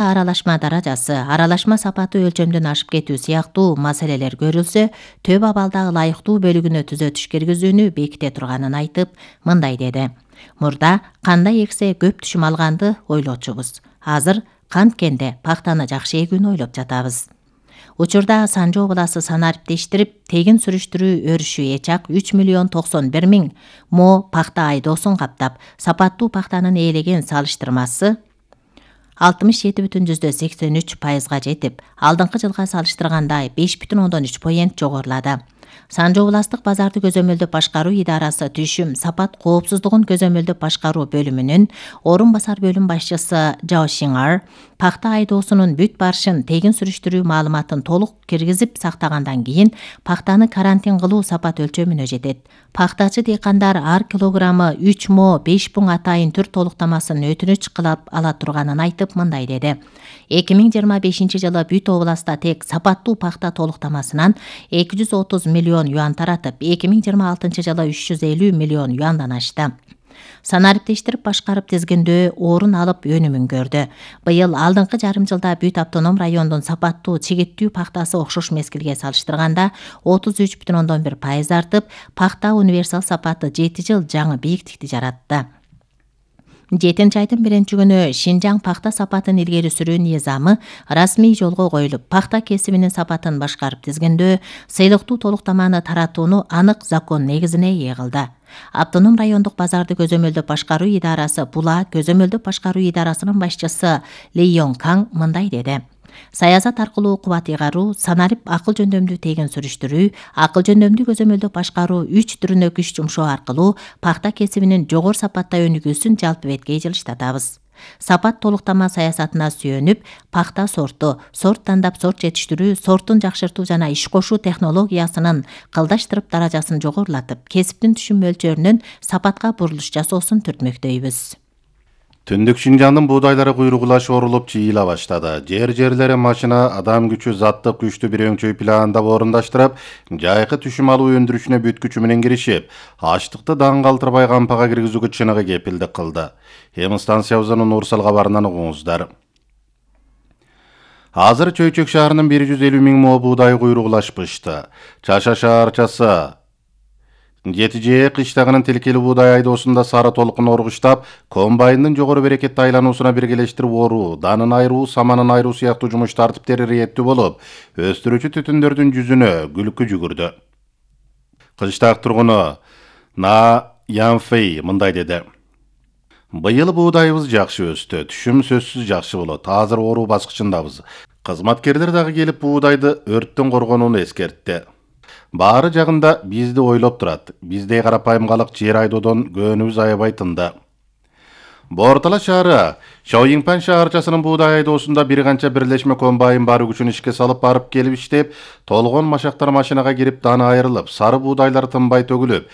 Аралашма даражасы, аралашма сапаты өлчөмдөн ашып кетүү сыяктуу маселелер көрүлсө, төп абалдагы ылайыктуу бөлүгүнө түзөтүш киргизүүнү беките турганын айтып, мындай деди. Мурда кандай эксе көп түшүм алганды ойлочубуз. Азыр канткенде пактаны жакшы эгүүнү ойлоп жатабыз. Учурда Санжоо обласы санариптештирип, тегин сүрүштүрүү өрүшү эчак 3.091.000 мо пахта айдоосун каптап, сапаттуу пахтанын ээлеген салыштырмасы 67,83%га жетип, алдыңкы жылга салыштырганда 5,3% жогорулады. Санжоо областык базарды көзөмөлдөп башкаруу идарасы түшүм сапат коопсуздугун көзөмөлдөп башкаруу бөлүмүнүн орун басар бөлүм башчысы Жао Шинар пахта айдоосунун бүт барышын тегин сүрүштүрүү маалыматын толук киргизип сактагандан кийин пахтаны карантин кылуу сапат өлчөмүнө жетет. Пахтачы дыйкандар ар килограммы 3 мо 5 пуң атайын түр толуктамасын өтүнүч кылып ала турганын айтып, мындай деди. 2025 жылы бүт областта тек сапаттуу пахта толуктамасынан 230 миллион юан таратып, 2026 жылы 350 миллион юандан ашты. Санариптештирип башкарып тизгиндөө орун алып өнүмүн көрдү. Быйыл алдыңкы жарым жылда бүт автоном райондун сапаттуу чегиттүү пахтасы окшош мезгилге салыштырганда 33,1% артып, пахта универсал сапаты 7 жыл жаңы бийиктикти жаратты. 7 айдын 1-күнү Шинжаң пахта сапатын илгери сүрүү низамы расмий жолго коюлуп, пахта кесибинин сапатын башкарып тизгиндөө, сыйлыктуу толуктаманы таратууну анык закон негизине ээ кылды. Автоном райондук базарды көзөмөлдөп башкаруу идарасы Була көзөмөлдөп башкаруу идарасынын башчысы Ли Йонг Каң мындай деди. Саясат аркылуу кубат ыйгаруу, санарип акыл жөндөмдүү тегин сүрүштүрүү, акыл жөндөмдүү көзөмөлдөп башкаруу 3 түрүнө күч жумшоо аркылуу пахта кесибинин жогору сапатта өнүгүүсүн жалпы бетке жылыштатабыз. Сапат толуктама саясатына сүйөнүп, пахта сорт тандап сорт жетиштирүү, сортун жакшыртуу жана иш кошуу технологиясынын кылдаштырып даражасын жогорулатып, кесиптин түшүм мөлчөрүнөн сапатка бурулуш жасоосун түртмөктөйбүз. Түндүк Шинжаңдын буудайлары куйругулашып орулуп чыйыла баштады. Жерлери машина, адам күчү, заттык күчтү бир өңчөй пландап орундаштырып, жайкы түшүм алуу өндүрүшүнө бүт күчү менен киришип, ачтыкты даң калтырбай кампага киргизүүгө чыныгы кепилдик кылды. Эми станциябыздын Урсал кабарынан угуңуздар. Азыр Чөйчөк шаарынын 150 миң мо буудай куйругулашпышты. Чаша шаарчасы Жетижээ кыштагынын тилкели буудай айдоосунда сары толкун оргуштап, комбайндын жогору берекетти айлануусуна биргелештирип оруу, данын айыруу, саманын айыруу сыяктуу жумуш тартиптери ирээттүү болуп, өстүрүүчү түтүндөрдүн жүзүнө күлкү жүгүрдү. Кыштак тургуну На Янфей мындай деди. Быйыл буудайыбыз жакшы өстү, түшүм сөзсүз жакшы болот. Азыр оруу баскычындабыз. Кызматкерлер дагы келип буудайды өрттөн коргонууну эскертти. Баары жагында бизди ойлоп турат. Биздей карапайым калык жер айдоодон көөнүбүз аябай тынды. Бортала шаары Шаоиңпан шаарчасынын буудай айдоосунда бир канча бирлешме комбайн бар күчүн ишке салып барып келип иштеп, толгон машактар машинага кирип, даны айрылып, сары буудайлар тынбай төгүлүп,